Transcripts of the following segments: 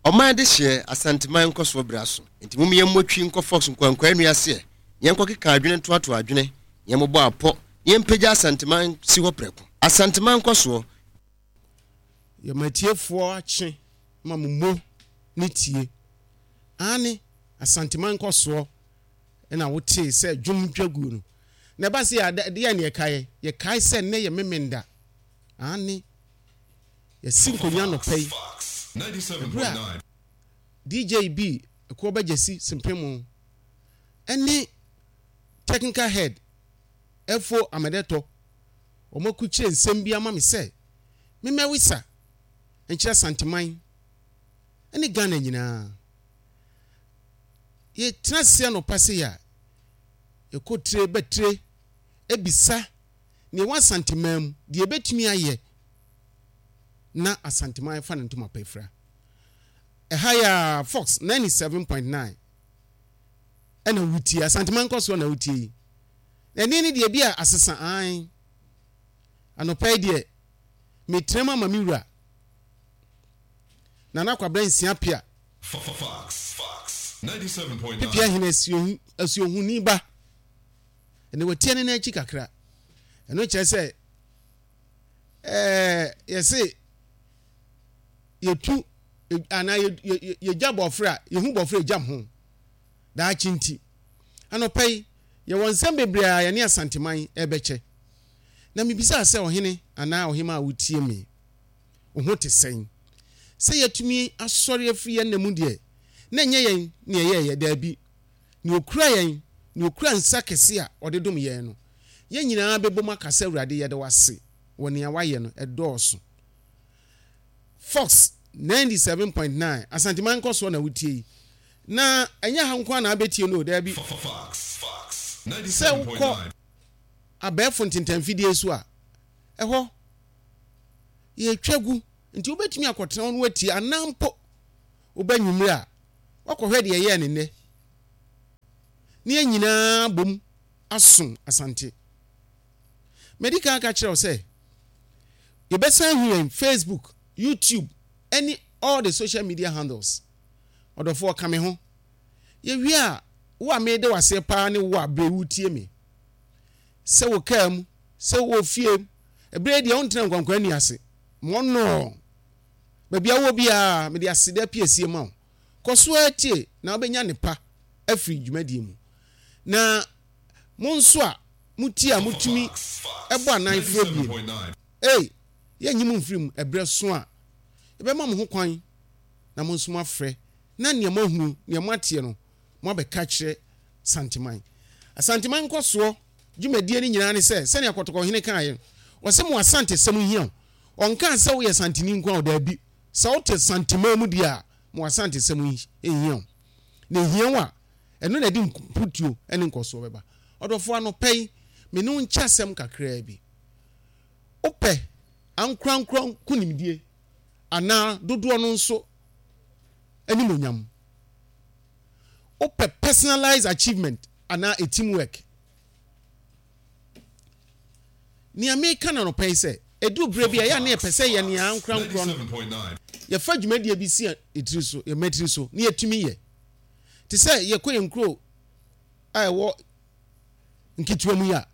Ɔman dehyeɛ, Asanteman nkɔsoɔ berɛ aso, enti mom yɛmmɔ twi nkɔ Fox nkwankwaa nnua aseɛ, na yɛnkɔkeka adwene ntoatoa adwene, na yɛmmobɔ apɔ, na yɛmpagya Asanteman nsi hɔ prɛko. Asanteman nkɔsoɔ. Yɛma atiefoɔ akye ma mo mo ne tie. Aane, Asanteman nkɔsoɔ na wotee sɛ dwom twa guo no. Na ɛba se a, deɛn na yɛkaeɛ? Yɛkae sɛ nnɛ yɛ Memenda. Aane, yɛasi nkonnwa anɔpa yi. Ɛberɛ a DJ bi, Ɛkoɔ Bɛgyasi Sempemo, ne Technical Head, Efo Amedetɔ, wɔakukyire nsɛm bi ama me sɛ memmɛwesa nkyerɛ Asanteman ne Ghana nyinaa. Yɛtena ase anɔpa sei a, yɛkɔ tire ba tire bisa nea ɛwɔ Asanteman mu, deɛ yɛbɛtumi ayɛ na Asanteman afa ne ntoma pa afira. Ɛha yɛ a Fox 97.9 ɛna wotie, Asanteman nkɔsoɔ na wotie yi. Na ɛne ne deɛ bi a asesa ae. Anɔpa yi deɛ, metenam ama me wura Nana Kwabena Nsia Pia. Pipia hene asuohuni ba. Ɛnna watia ne nan akyi kakra. Ɛno kyerɛ sɛ ɛɛ yɛse yɛtu anaa yɛgya bɔfrɛ a yɛhu bɔfrɛ gyam ho daakye nti. Anɔpa yi yɛwɔ nsɛm bebree a yɛne Asanteman ɛbɛkyɛ. Na mebisaa sɛ ɔhene anaa ɔhemaa a wotie me, wo ho te sɛn? Sɛ yɛatumi asɔre afiri yɛn nna mu deɛ, na ɛnyɛ yɛn na yɛyɛeɛ, daabi, nea ɔkura yɛn, nea ɔkura nsa kɛse a ɔde dom yɛn no. Yɛn nyinaa bɛbom aka sɛ, Awurade, yɛda wo ase wɔ nea woayɛ no, ɛdɔɔso. Fox 97.9, Asanteman nkɔsoɔ na wotie yi. Na ɛnyɛ ha nko ara na wobɛtie no o, daabi. Sɛ wokɔ abɛɛfo ntentanfidie so a, ɛhɔ yɛtwa gu, nti wobɛtumi akɔtena hɔ na woatie, anaa mpo woba anwummere a, woakɔhwɛ deɛ ɛyɛɛ no nnɛ. Ne yɛn nyinaa bom aso Asante. Madi kan aka kyerɛ wo sɛ, yɛbɛsan ahu yɛn Facebook, YouTube, ɛne all the social media handles. Ɔdɔfoɔ ka me ho. Yɛwie a, wo a mede wo aseɛ paa ne wo a berɛ wotie me. Sɛ wɔ kaa mu, sɛ wɔ fie, ɛberɛ yi deɛ wontena nkwankwan nni ase. Mɔnɔɔ. Baabi a wowɔ biara, mede aseda piesie ma wo. Kɔ so ara tie na wobɛnya nnepa afiri dwumadie mu. Na mo nso a motie a motumi bɔ anan frɛ bie no, ei, yɛnnye mo mfiri mu ɛberɛ so a yɛbɛma mo ho kwan na mo nso moafrɛ na nea moahunu, nea moateɛ no, moabɛka akyerɛ Santeman. Asanteman nkɔsoɔ dwumadie no nyinaa ne sɛ, sɛnea Kɔtɔkɔhene kaeɛ no, ɔse mo Asantesɛm hia o. Ɔnkaa sɛ woyɛ Santeni nko ara o, daabi. Sɛ wote Santeman mu deɛ a, mo Asantesɛm hia o. Na ɛhia wo a, ɛno na ɛde mputuo ne nkɔsoɔ bɛba. Ɔdɔfoɔ, anɔpa yi, me ne wo nkyɛ asɛm kakraa bi. Wopɛ ankorankoro nkonimdie anaa dodoɔ no nso animuonyam? Wopɛ personalized achievement anaa a team work? Nea meka no anɔpa yi sɛ, ɛduru berɛ bi a ɛyɛ a na yɛpɛ sɛ yɛn nea ankorankorɔ no, yɛfa dwumadie bi si yɛn tiri so, yɛn mmatiri so, na yɛtumi yɛ. Te sɛ yɛkɔ yɛn nkuro a ɛwɔ nketewa mu yi a,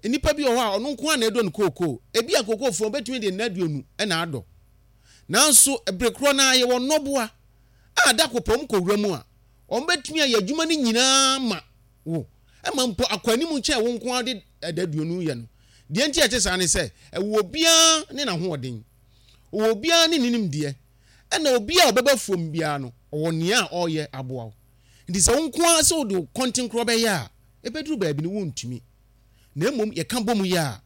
nnipa bi wɔ hɔ a ɔno nko ara na ɛdɔ no kookoo. Ebi a kookoofoɔ bɛtumi de nna 20 na adɔ. Nanso bere korɔ no ara yɛwɔ nnɔboa a da koro pɛ wɔn kɔ wura mu a, wɔbɛtumi ayɛ adwuma no nyinaa ma wo, ɛma mpo akɔ anim kyɛn wo nko ara de ɛda 20 yɛ no. Deɛ nti a ɛte saa ne sɛ, ɛwɔ obiara ne n'ahoɔden, ɔwɔ obiara ne ne nimdeɛ, ɛna obiara a ɔbɛba fuom biara no, ɔwɔ nea ɔreyɛ aboa wo. Nti sɛ wo nko ara sɛ wode wo kɔntenkorɔ bɛyɛ a, ɛbɛduru baabi no wontumi. Na mmom yɛka bɔ mu yɛ a,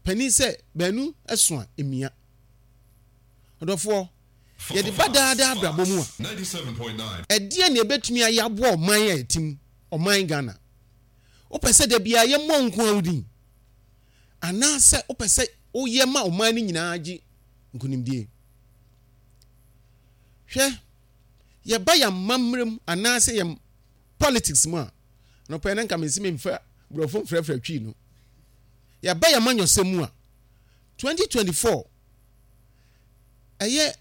panin sɛ baanu so a, ɛmia. Ɔdɔfoɔ, yɛde ba daa daa abrabɔ mu a, ɛdeɛn na yɛbɛtumi ayɛ aboa ɔman a yɛte mu, ɔman Ghana? Wopɛ sɛ da biara yɛmmɔ wo nko ara wo din? Anaasɛ wopɛ sɛ woyɛ ma ɔman no nyinaa gye nkonimdie? Hwɛ, yɛba yɛn amammerɛ mu anaasɛ yɛn politics mu a, anɔpa yi na nka mesi memfa borɔfo mfrɛfrɛ twi no. Yɛba yɛn amanyɔsɛm mu a, 2024 ɛyɛ.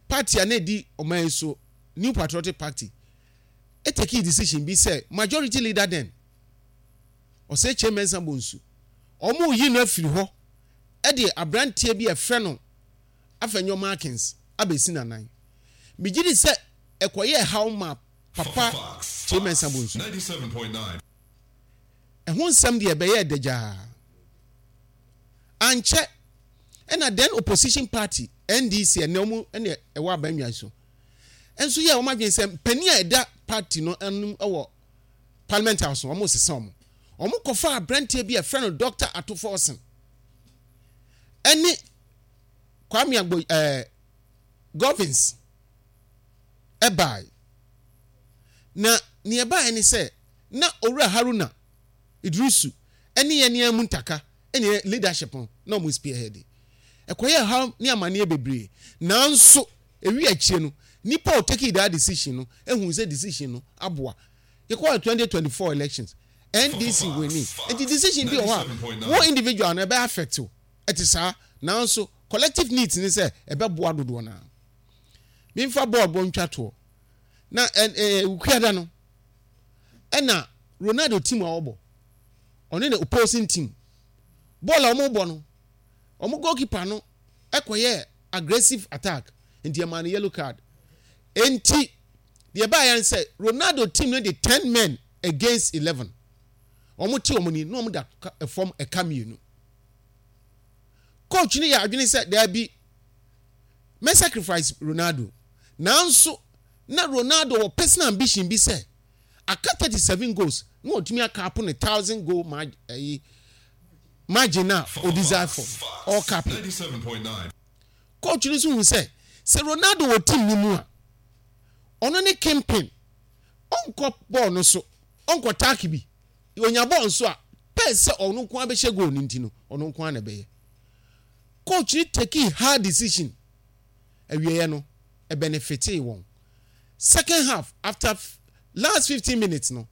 Party a na ɛdi ɔman yi so, New Patriotic Party, tekii decision bi sɛ majority leader then, Osei Kyei Mensah Bonsu, wɔreyi no afiri hɔ de aberanteɛ bi a ɛfrɛ no Afenyo Markins abɛsi n'anan. Megye di sɛ ɛkɔyɛɛ haw maa Papa Kyei Mensah Bonsu. Ɛho nsɛm deɛ ɛbɛyɛɛ dagyaa. Ankyɛ ɛna then opposition party NDC ɛnɛ wɔn ɛna ɛwɔ abannwa so nso yɛɛ wɔn adwene sɛ mpanin a ɛda party no anim wɔ parliament house no wɔn resesa wɔn. Wɔn kɔfaa aberanteɛ bi a ɛfrɛ no Dr. Ato Forson ɛne Kwame Agbo ɛɛ Govins ɛbae. Na nea ɛbaeɛ ne sɛ na Owura Haruna Iddrisu ne yɛn nea Muntaka ne leadership no na wɔn spearhead. Ɛkɔyɛɛ haw ne amaneɛ bebree. Nanso ewi akyire no, nipa a ɔtakii that decision no ehuu sɛ decision no aboa. Yɛkɔɔ 2024 elections, NDC winning. Nti decision bi wɔ hɔ a, wo individual no ɛbɛ affect wo. Ɛte saa. Nanso collective needs ne sɛ ɛbɛboa dodoɔ no ara. Memfa bɔɔl bɔ ntwa toɔ. Na ɛ ɛ Wukuada no, ɛna Ronaldo team a ɔbɔ, ɔne ne opposing team, bɔɔl a wɔbɔ no, wɔn goalkeeper no kɔyɛɛ aggressive attack, nti ɛmaa no yellow card. Enti deɛ ɛbaeɛ ne sɛ Ronaldo team no de 10 men against 11. Wɔn te wɔn ni na wɔn da fam ɛka mmienu. Coach no yɛ adwene sɛ daabi, mɛ sacrifice Ronaldo. Nanso na Ronaldo wɔ personal ambition bi sɛ aka 37 goals na watumi akapo ne 1000 goal margin eh, margin a o desire for no ɔkapo. Coach no nso hu sɛ sɛ Ronaldo wɔ team no mu a ɔno ne kingpin, ɔnkɔ bɔɔl no so, ɔnkɔ tack bi, onya bɔɔl nso a pɛɛ sɛ ɔno nko ara bɛhyɛ goal no nti no ɔno nko ara na ɛbɛyɛ. Coach no take hard decision. Awieɛ no ɛbɛnefitee wɔn. Second half after last 15 minutes no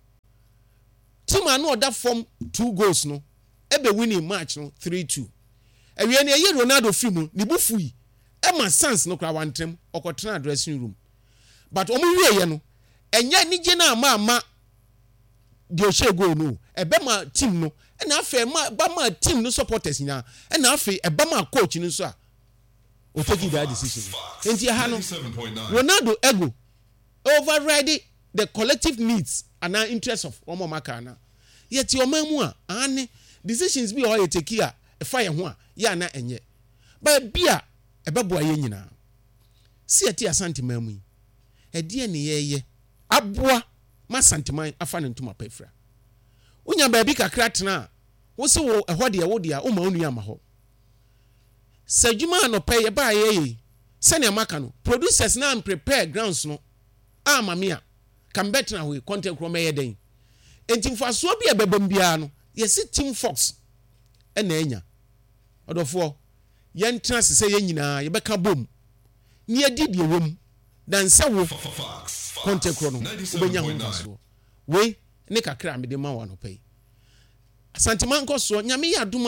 team a na ɔda fam two goals no ɛbɛ winning match no 3-2. Awieɛ no ɛyi Ronaldo firi mu, ne bo fui ɛma sans no koraa wantena mu, ɔkɔtenaa dressing room. But wɔn wieɛ no ɛnyɛ anigye no amma amma deɛ ɔhyɛɛ goal no o, ɛbɛma team no ɛna afei ɛma ɛba maa team no supporters nyinaa ɛna afei ɛba maa coach no nso a o take that decision no. Nti ɛha no Ronaldo ego override the collective needs anaa interest of wɔn a wɔn aka anaa. Yɛte ɔman mu a, aane, decisions bi wɔ hɔ a yɛ take a ɛfa yɛn ho a, yɛ a na ɛnyɛ. But ebi a ɛbɛboa yɛn nyinaa. Se yɛte Asanteman mu yi, ɛdeɛn ne yɛreyɛ aboa ma Asanteman afa ne ntoma pa afira? Wonya baabi kakra tena a, wo se wo ɛhɔ deɛ wo dea, womma wo nua mma hɔ. Sɛ adwuma a anɔpa yi yɛbaa yɛyɛ yi, sɛnea maka no, producers no amprepare grounds no amma me a, ka mebɛtena hɔ yi, kɔntɛnkorɔ mɛyɛ dɛn? Enti mfasoɔ bi a ɛbɛba mu biara no, yɛse Team Fox na anya. Ɔdɔfoɔ, yɛntena ase sɛ yɛn nyinaa yɛbɛka bom na yɛadi deɛ ɛwɔ mu than sɛ wo, kɔntɛnkorɔ no, wobɛnya ho mfasoɔ. Wei ne kakra a mede ma wo anɔpa yi. Asantema nkɔsoɔ, Nyame yɛ adom a.